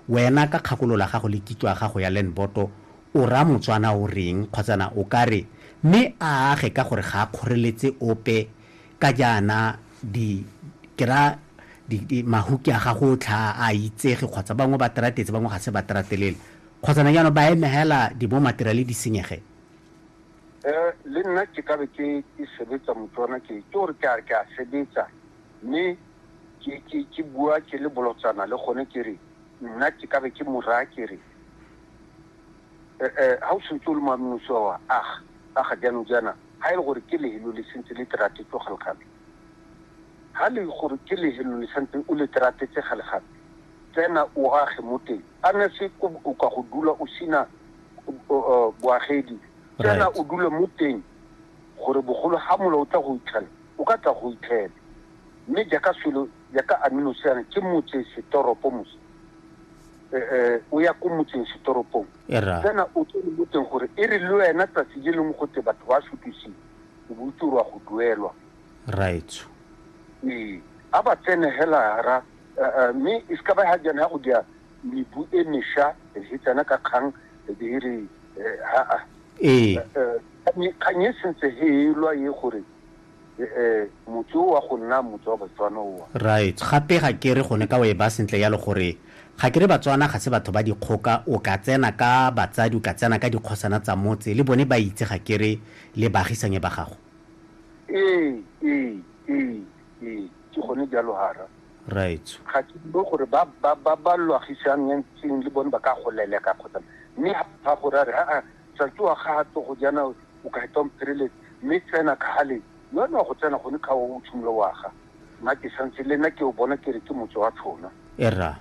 Wena ka kgakololo ya gago le kitso ya gago ya land board o raya Motswana o reng kgotsana o ka re mme a age ka gore ga a kgoreletse ope ka jaana di ke raya di, di, mahuki a gago otlhe a a itsege kgotsa bangwe ba teratetse bangwe ga se ba teratelele kgotsana jaanong ba eme hela di bo materiale di senyege. Le nna ke ka be ke ke sebetsa Motswana ke ke gore ke a ke a sebetsa mme ke ke ke bua ke le bolotsana le gone ke re nna ke ka be ke mo raya ke re ha o sentse o le moaminosi wa aga aga jaanong jaana ha e le gore ke lehelo le sentse le teratetswe gale-gale ha le gore ke lehelo le santse o le teratetse gale-gale tsena o age mo teng a ne se o ka go dula o sena boagedi tsena o dule mo teng gore bogolo ha mola o tla go itlhela o ka tla go itlhela mme jaaka selo jaaka aminoseana ke motse setoropo mos o ya ko motseng setoropong tsena o tsene mo teng gore e re le wena tsatsi le lengwe gote batho ba sutisiwe o bo itse gore wa go duelwa. Raetsho. Ee, a ba tsene hela ra mme e se ka ba ha jaana ya go dia mebu e mesha e tsena ka kgang e be e re ha Ee. Kgang e sentse he elwa e gore motse o wa go nna motse wa Batswana oa. Right. Gape ga ke re gone ka o e ba sentle yalo gore ga ke re Batswana ga se batho ba dikgoka, o ka tsena ka batsadi, o ka tsena ka dikgosana tsa motse, le bone ba itse ga ke re le baagisanye ba gago. Ee, ee, ee, ee, ke gone jalo hara. Right. Ga ke bue gore ba ba ba ba lwagisanyentseng le bone ba ka go leleka kgotsa mme ga gore a re aa tsatsi wa ga tlo go jana o ka heta mphereletse mme tsena ka gale le wena wa go tsena gone ka o tshimolo wa ga nna ke santse le nna ke o bona ke re ke motse wa tshona. Erra.